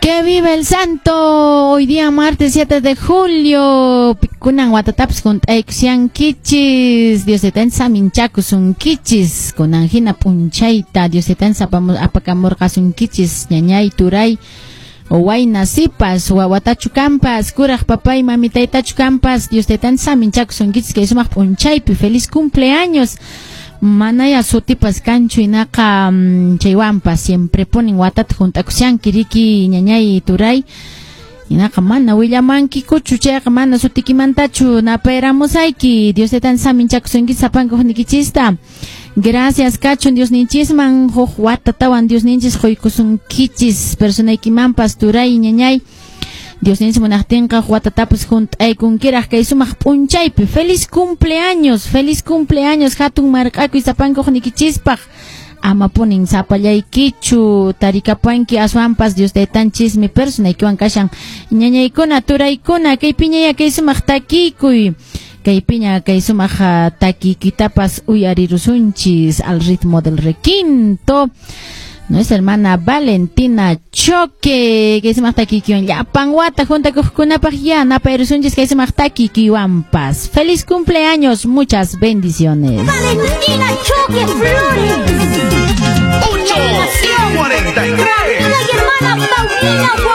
¡Que viva el santo! Hoy día martes 7 de julio. Kunan watatapis hunt'aykushankichis. Dios taytanchis saminchakusunkichis. Kunan hina p'unchayta Dios taytanchis apakamurqasunkichis. Ñañay, turay, wayna, sipas, wawatachu kampas, kuraq papay, mamitaytachu kampas. Dios taytanchis saminchakusunkichis. Kay sumaq p'unchaypi. Feliz cumpleaños. Manaya sutipas kanchu hinaqa chaywanpas siempre ponen watata hunt'akushanki riki ñañay turay hinaqa mana willamankikuchu chayqa mana sutikimantachu napayramusayki. Dios taytan saminchakusunki sapanka huknikichista. Gracias kachun Diosninchisman huk watatawan Diosninchis quykusunkichis personaykimanpas turay ñañay. Diosninchis munaqtinqa watatapas hunt'aykunkiraq kay sumaq p'unchaypi. Feliz cumpleaños hatun marq'akuy sapanka huknikichispaq. Ama punin sapallaykichu tarikapanki aswanpas Dios taytanchismi personaykiwan kashan. Ñañaykuna turaykuna kay piñaya kay sumaq takikuy. Kay piña kay sumaq takikitapas uyarirusunchis al ritmo del requinto. Nuestra hermana Valentina Choque, que sumaq takikiwan llapan wata juntakuqkunapaq ya napayrusunchis kay sumaq takikiwanpas. Feliz cumpleaños, muchas bendiciones. Valentina Choque Flores. 8:43. Y hermana Paulina.